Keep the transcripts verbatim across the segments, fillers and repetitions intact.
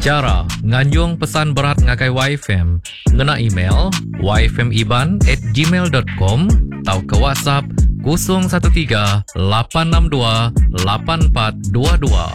Chara nganjung pesan berat ngagai Y F M ngena email y f m iban at gmail dot com atau ke WhatsApp kosong satu tiga lapan enam dua lapan empat dua dua.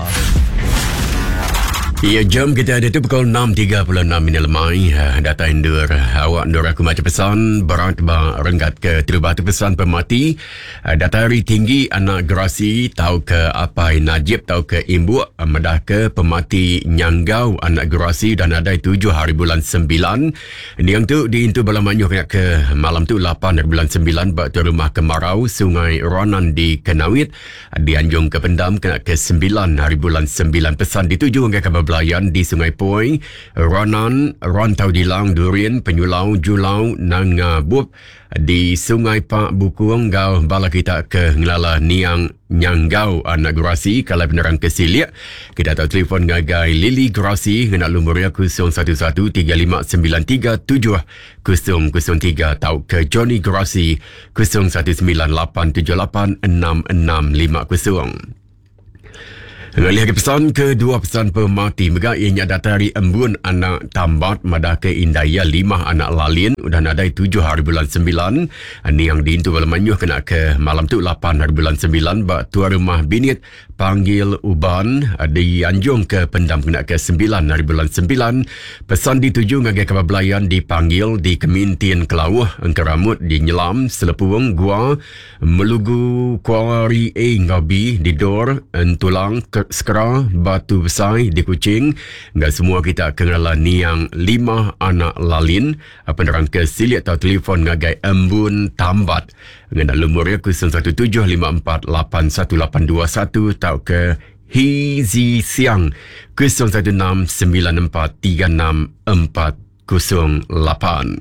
Ya, jam kita ada tu pukul enam tiga puluh enam minit lemai. Data indur awak ndur aku baca pesan berat ba renggat ke terubah tu pesan pemati. Data hari tinggi anak gerasi tau ke apai Najib tau ke imbuk medah ke pemati nyanggau anak gerasi dan adai tujuh hari bulan sembilan. Niang tu diintu bala manyuh kena ke malam tu lapan hari bulan sembilan ba tu rumah kemarau Sungai Ronan di Kenawit. Dianjung ke pendam kena ke sembilan hari bulan sembilan. Pesan dituju ke kabar Belayan di Sungai Poi, Ronan, Rantau Dilang, Durian, Penyulau, Julau, Nanga Bup di Sungai Pak Bukung gau bala kita ke ngelala niang nyanggau anak gerasi. Kalau penerang ke siliak kita tahu telefon ngagai Lily Gerasi ngena lumur ya kosong satu satu tiga lima sembilan tiga tujuh kosong kosong tiga atau ke Johnny Gerasi kosong satu sembilan lapan tujuh lapan enam enam lima kosong. Ngalih ke pesan kedua pesan pemati mega ianya data hari embun anak tambat madah ke indaya lima anak lalin udah nadai tujuh hari bulan sembilan. Niang diintu bala manyuh kena ke malam tu lapan hari bulan sembilan ba tua rumah binit panggil uban dianjung ke pendam kena ke sembilan hari bulan sembilan. Pesan dituju ngagai kabar belayan dipanggil di Kemintian Kelauh Engkeramut di Nyelam Selepung Gua Melugu Kuari A ngau B di Dor Entulang Sekera Batu Besai di Kuching. Enggak semua kita kenala niang lima anak lalin. Penerang ke siliak atau telefon ngagai Embun Tambat ngena lumur ya kosong satu tujuh lima empat lapan satu lapan dua satu atau ke Hizi Siang kosong satu enam sembilan empat tiga enam empat kosong lapan.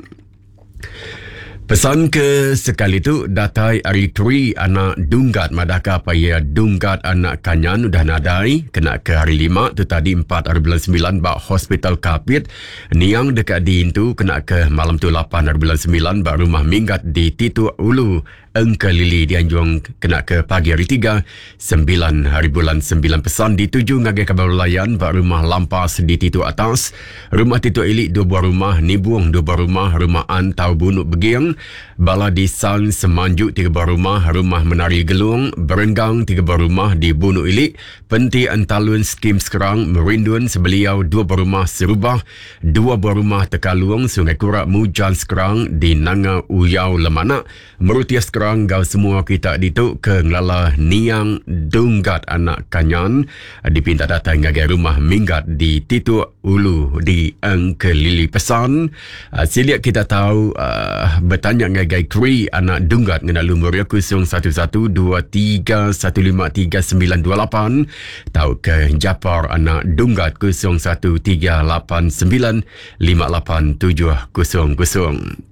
Pesan ke sekali tu datai hari tri anak dunggat madahka apa ya dunggat anak kanyan udah nadai kena ke hari lima tu tadi empat hari bulan sembilan ba hospital Kapit. Niang dekat diintu kena ke malam tu lapan hari bulan sembilan ba rumah minggat di Titu Ulu Engkelili dianjung kena ke pagi hari tiga sembilan hari bulan sembilan. Pesan dituju ngagai kabar layan ba rumah Lampas di Titu Atas, rumah Titu Elik dua buah rumah, Nibung dua buah rumah, rumah Antau Bunuk Begiang, bala di San Semanjuk tiga buah rumah, rumah Menari Gelung, Berenggang tiga buah rumah di Bunuk Ilik, Penti Entalun Skim Sekerang, Merindun Sebeliau dua buah rumah, Serubah dua buah rumah, Tekalung, Sungai Kurak, Mujan Sekerang di Nanga Uyau Lemanak, Merutia Sekerang gau semua kita ditu ke ngelala niang dunggat anak kanyan dipinta datang ngagai rumah minggat di Titu Ulu di Engkelili. Pesan uh, siliak kita tahu uh, bertanya ngagai Kri anak dunggat ngena lumur ya kosong satu satu dua tiga satu lima tiga sembilan dua lapan tau ke Japar anak dunggat kosong satu tiga lapan sembilan lima lapan tujuh kosong kosong.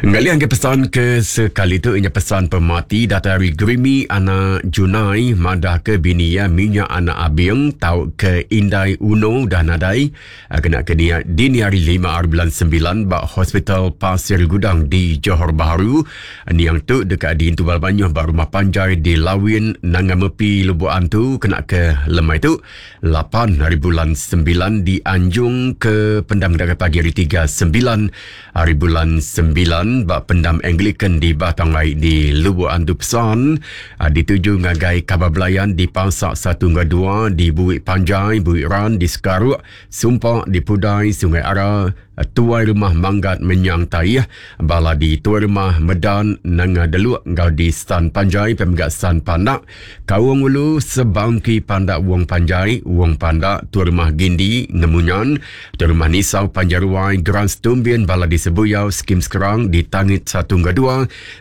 Ngalian ke pesan ke sekali tu inya pesan pemati data hari Grimi anak Junai madah ke bini ya minyak anak Abing tau ke Indai Uno dah nadai kena ke dia dini hari lima hari bulan sembilan ba Hospital Pasir Gudang di Johor Bahru. Niang tu dekat di Intubal Banyuh ba rumah panjai di Lawin Nangamepi Lubuk Antu kena ke lemai tu lapan hari bulan sembilan di Anjung ke pendam dekat pagi hari tiga sembilan hari bulan sembilan bak pendam Anglican di Batang Ai di Lubuk Antu. Pesan dituju ngagai kabar belayan di Pasak satu hingga dua di Buik Panjai, Buik Ran di Sekaruk, Sumpah di Pudai, Sungai Ara, Tuai Rumah Manggat Menyang Taih, bala di Tuai Rumah Medan Nanga Deluk ngau di Stan Panjai, Pemegak San Pandak, Kawung Ulu Sebangki Pandak Wong Panjai, Wong Pandak, Tuai Rumah Gindi Ngemunyan, Tuai Rumah Nisau Panjaruai, Grand Stumbin, bala di Sebuyau, Skim Sekerang di Tangit satu hingga dua,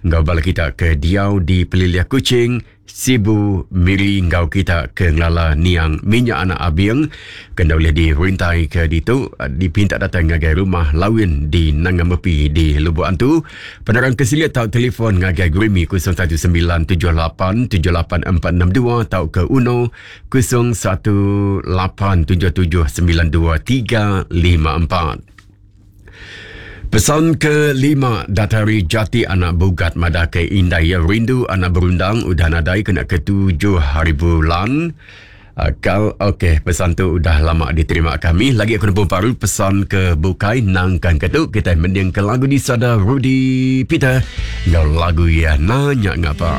ngau bala kita ke Diau di Peliliah Kuching, Sibu Miri ngau kita ke ngelala niang minyak anak Abing kena boleh dirintai ke ditu dipinta datang ngagai rumah Lawin di Nangamepi di Lubuk Antu. Penerang kesilia tau telefon ngagai Grimi kosong satu sembilan tujuh lapan tujuh lapan empat enam dua tau ke Uno kosong satu lapan tujuh tujuh sembilan dua tiga lima empat. Pesan kelima datari Jati anak Bugat madah ke Indai Rindu anak Berundang udah nadai kena ketujuh hari bulan. Uh, kal okey, pesan tu udah lama diterima kami. Lagi aku nemu baru pesan ke bukai nangkan ke tu kita mending ke lagu di sada Rudy Peter ngau lagu ya nanya ngapa.